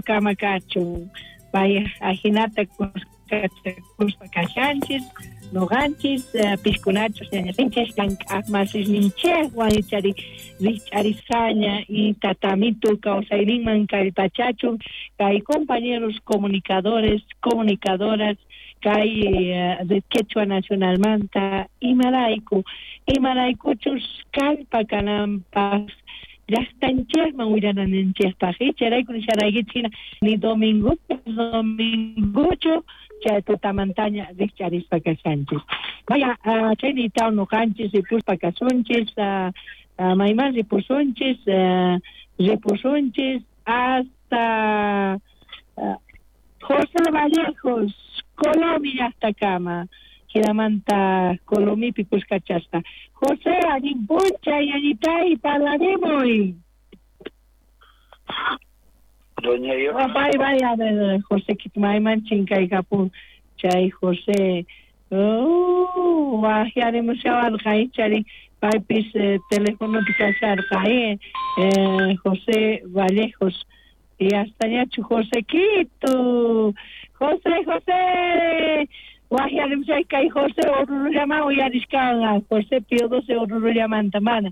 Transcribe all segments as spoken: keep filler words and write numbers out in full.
Kama kachun. Vaya, ajinata kuskachakuspa kashanchis, noqanchis, piskunachus ñañasinchis, llank'aqmasisninchejwan ichari rikch'arisqaña y tatamitu kawsayninman kallpachachun kay compañeros comunicadores, comunicadoras, kay Red Quechua Nacionalmanta imarayku, imaraykuchus kallpa kananpaq llaqtanchejman willananchejpaq icharayku nisharaykichik hina ni domingo dominguchu chay tutamantaña rikch'arispa kashanchis. Vaya, uh, chaynitaw noqanchis ripuspa kasunchis, uh, uh, mayman ripusunchis, uh, ripusunchis hasta uh, José Vallejos, Colomi llaqtakama, hinamanta Colomipi kuskachaspa. José, allin p'unchay, allitay, parlarimuy. Doña yo. Oh, bye, bye, a ver, José, mayman chinkaykapun chay José. Oh, wajyarimushawarqa ichari paypis eh, telefonopi kasharqa eh, eh, José Vallejos. Y hasta ñachu Josequito. José, José. Wajyarimushay kay José Orurullaman uyarishkanqa. José Pío doce Orurullamanta mana.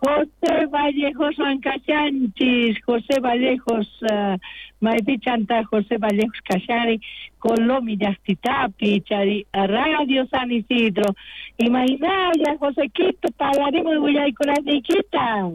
José Vallejoswan kashanchis, José Vallejos, uh, maypichanta José Vallejos kashari, Colomi llaqtitapi, chari Radio San Isidro. Imaynalla, Josequito, parlarimuy willaykunasniykita.